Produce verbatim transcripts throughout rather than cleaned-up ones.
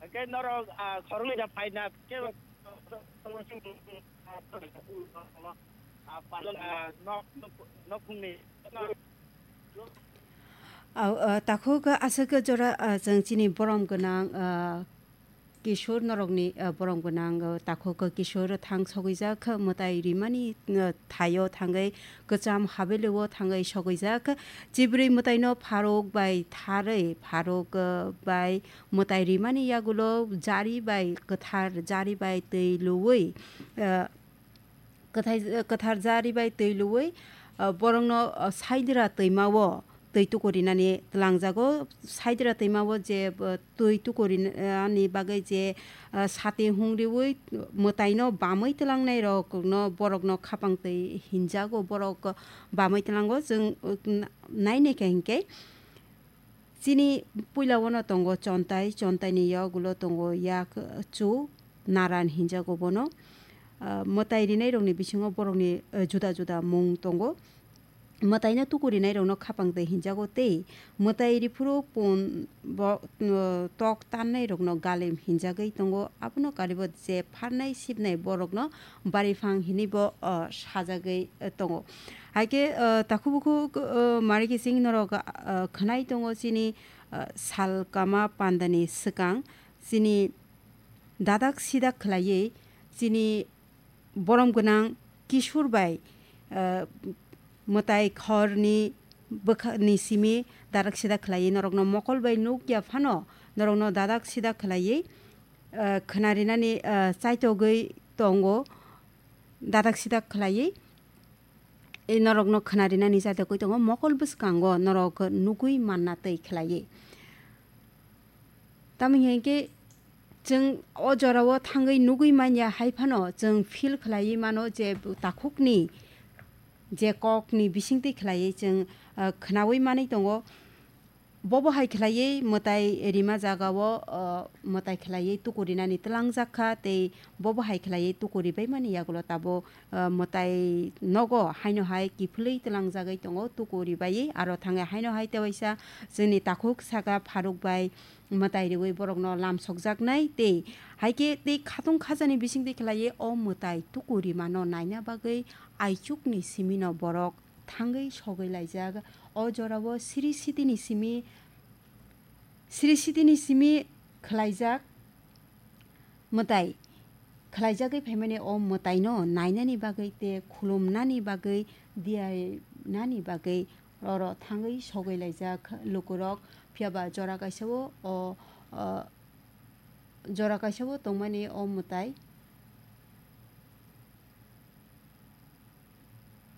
Hwnkhe norok, ah, khoroknwi da phaina khe, ah, palon, ah, nok, nok, nokni. Au, ah, takhuk aswk jora, ah, chwng chini borom gwnang, ah, Kishore norokni, ah, borom gwnang, ah, takhuk Kishore thang sogwijak, mwtai rimani, ah, thaio thangwi kwcham habelio thangwi sogwijak. Chibrwi mwtaino pharuk bai tharwi, pharuk, ah, bai mwtai rimani yagulo jari bai kwthar, jari bai twi luwi, ah, kwthai, kwthar jari bai twi luwi, ah, borokno, ah, saidra twimao twi tukurinani twlangjago. Saidra twimao je, ah, twi tukurinani bagwi je, ah, sati hung riwi mwtaino bamwi twlangnai rokno borokno khapang twi hinjago. Borok bamwi twlango. Chwng, ah, nainai khe hinkhe Chini puila o no tongo chontai, chontai ni yagulo tongo yak, chu, naran hinjago bono. Ah, mwtai rinai rokni bisingo borokni, eh, juda juda mung tongo. Mwtaino tuku rinai rokno khapang twi hinjago tei mwtai riphuru pun bo, eh, tok tannai rokno galim hinjagwi tongo. Abono karibo je pharnai sibnai borokno bariphang hinwi bo, ah, sajagwi, eh, tongo. Hai khe, ah, takhuk bukhuk, ah, mari khe chini norok, ah, khwnai tongo chini, ah, salkama pandani swkang chini dadak sidak khwlaiwi chini borom gwnang Kishore bai, ah, mwtai khorni bwkha ni simi dadak sidak khwlaiwi norokno mokol bai nuk ya phano norokno dadak sidak khwlaiwi, ah, khwnarinani, ah, chaitogwi tongo. Dadak sidak khwlaiwi, e, norokno khwnarinani jatokwi tongo, mokol bwskango norok nugwi manna twi khwlaiwi. Tamoni hinkhe chwng o jorao thangwi nugwi manya hai phano chwng feel khwlaiwi mano je takhukni je kokni bisingtwi khwlaiwi chwng, ah, khwnawi manwi tongo. Bobo hai khwlaiwi mwtai rima jagao, o, mwtai khwlaiwi tuku rinani twlangjak kha tei bobo hai khwlaiwi tuku ribaimani yagulo tabuk, o, mwtai nogo haino hai kiphilwi twlangjagwi tongo tuku ribaiwi. Aro thangwi haino hai tewaisa chwngni takhuk saka Pharuk bai mwtai riwi borokno lamsokjaknai tei hai khe tei khatung khajani bisingtwi khwlaiwi o mwtai tuku rimano naina bagwi aichukni simino borok thangwi sogwi laijak. O jorao Sri Sitini simi, Sri Sitini simi khwlaijak mwtai khwlaijagwi phaimani o mwtaino nainani bagwi tei khulumnani bagwi, diyainani bagwi oro thangwi sogwi laijak lukurok. Phiyaba jora kaisao o, o, jora kaisao tongmani o mwtai.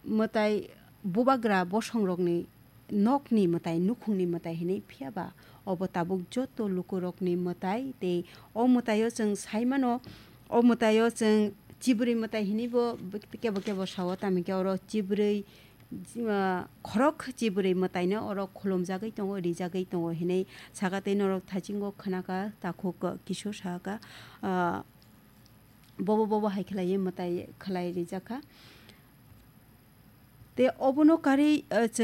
Mwtai bubagra bosongrokni nokni mwtai, nukhungni mwtai hinwi, phiyaba obo tabuk joto lukurokni mwtai. Tei o mwtaio chwng saimano, o mwtaio chwng chibrwi mwtai hinwibo kebo kebo sao, tamikhe oro chibrwi, ah, khorok chibrwi mwtaino oro khulumjagwi tongo, rijagwi tongo hinwi saka tei norok thaichungo khwnaka takhuk Kishore saka, ah, bobo bobo hai khwlaiwi mwtai khwlai rijak kha. Tei obono karwi, eh, chwng